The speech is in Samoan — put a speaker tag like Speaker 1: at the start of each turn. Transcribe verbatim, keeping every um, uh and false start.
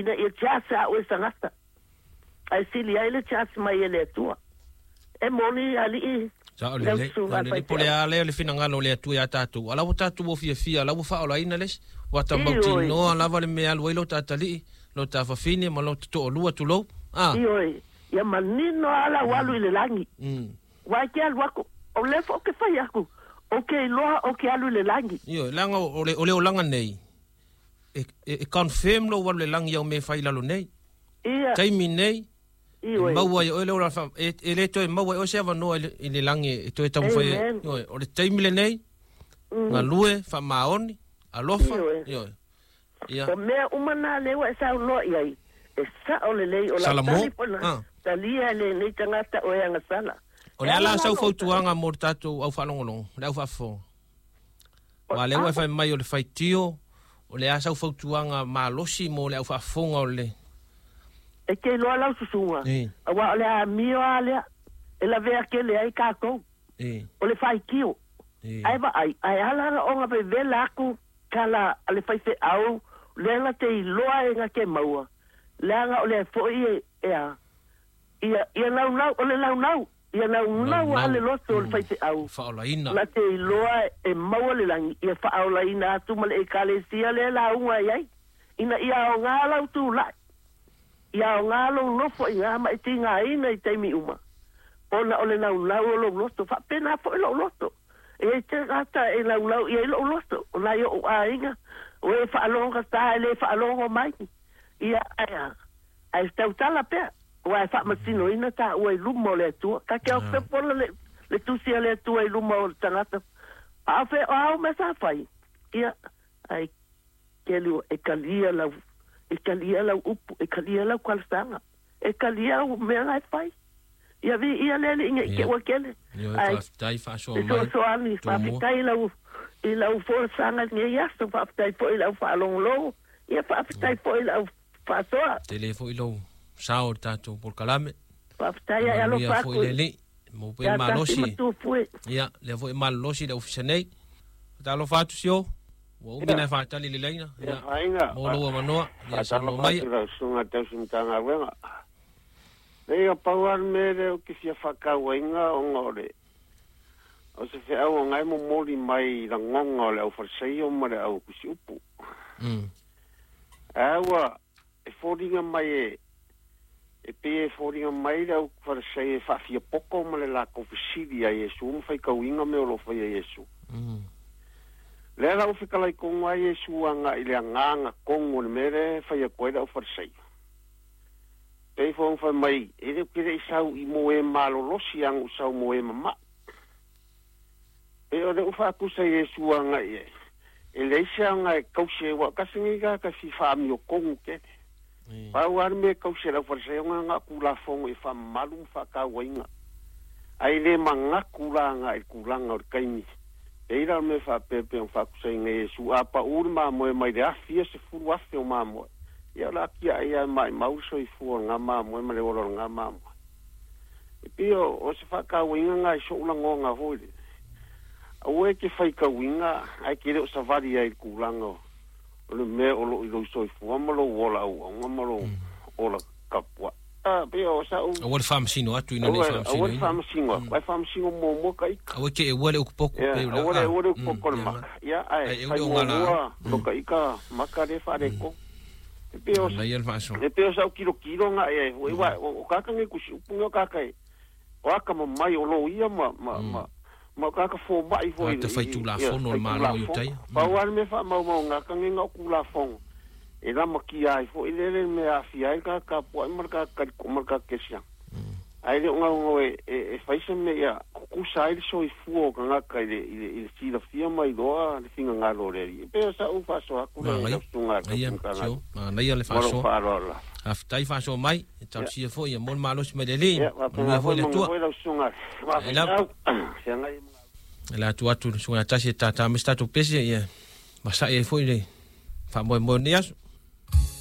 Speaker 1: Ina ia tiasi a oe tagata ae sili ai le tiasi mai e le Atua e moni alii.
Speaker 2: Sa o le le, le po le a le le finagalo o le Atua ia tatou. Ala ua tatou ua fiafia, ala ua faaolaina le isi. Ua ta mautinoa lava le mea alu ai lo tatalii, lo ta fafine ma lo toalua tulou. Ah.
Speaker 1: Ioe, ia manino ala ua alu i le lagi. Ua e ke alu aku, o le foi ke fai aku, o ke iloa o ke alu i le lagi.
Speaker 2: Ioe, leaga o le o le olaga nei, e, e, e confirm lou alu i le lagi au mea e fai i lalo nei.
Speaker 1: Ia.
Speaker 2: Taimi nei, e
Speaker 1: Ioe.
Speaker 2: maua ai oe le ola fa, e, e le toe maua ai oe se avanoa i le, i le lagi e toe taumafai ai.
Speaker 1: Amen.
Speaker 2: Ioe, o le taimi lenei,
Speaker 1: Mm.
Speaker 2: galue, faamaoni, alofa,
Speaker 1: Ioe.
Speaker 2: ioe. Ia.
Speaker 1: O mea uma na lea ua e saunoa i ai, e sao lelei o lau
Speaker 2: Salamo.
Speaker 1: tali po na
Speaker 2: Ah.
Speaker 1: talia e lenei tagata o e agasala.
Speaker 2: O
Speaker 1: E
Speaker 2: le
Speaker 1: ala
Speaker 2: ala
Speaker 1: la
Speaker 2: sau
Speaker 1: lou tali.
Speaker 2: fautuaga mo le tatou au faalogologo, le au faafofoga.
Speaker 1: O
Speaker 2: Ua lea ua e
Speaker 1: a
Speaker 2: fai mai o le faitio, o le a sau fautuaga malosi mo le au faafofoga o le
Speaker 1: e ke iloa lau susuga.
Speaker 2: E.
Speaker 1: Auā o le amio a lea e lavea tele ai tatou.
Speaker 2: E.
Speaker 1: O le faitio.
Speaker 2: E.
Speaker 1: Ae vaai, ae ala la ona vevela aku tala a le faifeau, lea na te iloa e na te maua. Leaga o lea foi e, e a, ia, ia naunau, o le naunau, ia naunau a le loto o le faifeau.
Speaker 2: Faaolaina.
Speaker 1: Na te iloa e maua le lagi, ia faaolaina atu ma le ekalesia lea lauga i ai. Ina ia aogā lau tulai. Ia aogā lou nofo i gā ma e tigaina i taimi uma. Ona o le naunau o lou loto, faapena foi lou loto. E ai te gata e naunau i ai lou loto, o nai o'u aiga, o e faalogogata e lē faalogo mai. Ia ae ae tautala pea, ua e faamasinoina taua i luma o le Atua. Ka ke aofepola le, le tusi a le Atua i luma o le tagata. A fe o au mea sa fai. Ia, ae kelu e kalia lau, e kalia lau upu, e kalia lau talosaga. E kalia au mea na e fai. Ia vi ia le alii nei ke
Speaker 2: Ia.
Speaker 1: ua kele.
Speaker 2: Ioe,
Speaker 1: Ae
Speaker 2: faafetai faasoa
Speaker 1: e
Speaker 2: mai.
Speaker 1: soasoani,
Speaker 2: Tumua.
Speaker 1: faafetai lau i lau folasaga i lenei aso, faafetai foi i lau faalogologo, ia faafetai foi i lau faasoa.
Speaker 2: Tele foi lou sao o le tatou polokalame.
Speaker 1: Faafetai ae
Speaker 2: Manuia
Speaker 1: alofa
Speaker 2: foi
Speaker 1: aku
Speaker 2: le alii. Maua pea
Speaker 1: ia
Speaker 2: le
Speaker 1: tasi
Speaker 2: malosi.
Speaker 1: matufue.
Speaker 2: Ia, lea foi e malolosi le ofisa nei. Faatalofa atu sio. Ua umi na e faatali le laina.
Speaker 3: Ia
Speaker 2: Ia,
Speaker 3: faiga.
Speaker 2: mo lou avanoa. Ia, saunoa
Speaker 3: Faatalofa
Speaker 2: mai.
Speaker 3: atu lau susuga tausi Matagaluega. Lei o pau lava le mea lea ou te fia faatauaina ona o le o se feau o gae momoli mai i lagoga o le aufalesaio ma le au kusiupu.
Speaker 2: Mm.
Speaker 3: Ae ua e foliga mai e e pei e foliga mai le aufalesai e faafiapoko ma le lakou fesili a Iesu ma faitauina mea o loo faia Iesu.
Speaker 2: Mm.
Speaker 3: Lea la ua fetalai kogo ai Iesu agaʻi le agaga kogo o le mea lea e fai atu ai le aufalesai. Pei foi ona fai mai, e le o ke leʻi sau i mo e malolosi aguʻu sau mo e mamaʻi. Pe o le ua faakusa Iesu agaʻi e, e leai se aga e kausi ai ua kasi nei ka fi faamio kogo tele.
Speaker 2: E.
Speaker 3: Pau lava le mea e kausi e le aufalesai ona agaʻo kulafono e faamamalu ma faatauaina. Ae lē manatu la agaʻi i le kulaga o le taimi. Pei la o le mea faapea ona faakusaina Iesu a paʻu le mamoe mai le afi ia sefulu afe o mamoe. Ia o le atiaʻe ia e maʻimau le soifua o lagā mamoe ma le ola o lagā mamoe. E pei o o se faatauaina gā i soʻu lagoga foi le. Aua e ke faitauina ae ke le o savali ai i le kulaga o o le mea o loo i lou soifua ma lou ola auauga ma lou ola tapuaʻi. Ah, pei o saʻu
Speaker 2: Aua le faamasino atu ina nei
Speaker 3: aua aua le
Speaker 2: faamasinoina.
Speaker 3: faamasino atu, ae faamasino muamua ka ika.
Speaker 2: Aua ke e ua le ukupoku
Speaker 3: Ia,
Speaker 2: pe o le
Speaker 3: aua le
Speaker 2: a.
Speaker 3: aua le
Speaker 2: Mm,
Speaker 3: upoko le
Speaker 2: ia
Speaker 3: maka. Ia, ae
Speaker 2: Ai e
Speaker 3: fai
Speaker 2: ule o ngala.
Speaker 3: muamua lo ka ika maka le faaleko. E pei o
Speaker 2: Manaia le faasoa.
Speaker 3: e pei o saʻu kilokilo gaʻi ai foi ua o kaka nei kusi upu nei o kaka e o aka mamai o lou ia ma ma ma ma kaka fomaʻi foi
Speaker 2: Tagata faitulafono o le Malo i Utaia.
Speaker 3: Pau lava le mea faamaumauga kage ga o kulafono e lamakia ai foi lele le mea aafia ai le kaka tapuaʻi ma le kaka kaliko ma le kaka kesiaga. Ae le o gaugau e e e fai se mea ia kukusa ai le soifua o tagata i le i le i le silafia mai loa le finagalo o le alii. E pei o saʻu faasoa atu le
Speaker 2: Manaia.
Speaker 3: laususuga a le
Speaker 2: Ia,
Speaker 3: tausi
Speaker 2: sio. Manaia le
Speaker 3: ma lou
Speaker 2: faasoa.
Speaker 3: faaaloalo lava.
Speaker 2: Faafetai faasoa mai. E talosia foi ia mo le malosi mai le alii.
Speaker 3: Ia
Speaker 2: Manuia
Speaker 3: faapena
Speaker 2: foi
Speaker 3: foi
Speaker 2: le
Speaker 3: maga
Speaker 2: Atua.
Speaker 3: foi laususuga
Speaker 2: E lava.
Speaker 3: mafetau feagai
Speaker 2: E la atu atu le susuga tasi e tātā mai se tatou pese ia masaʻi ai foi le faamoemoe o lenei aso.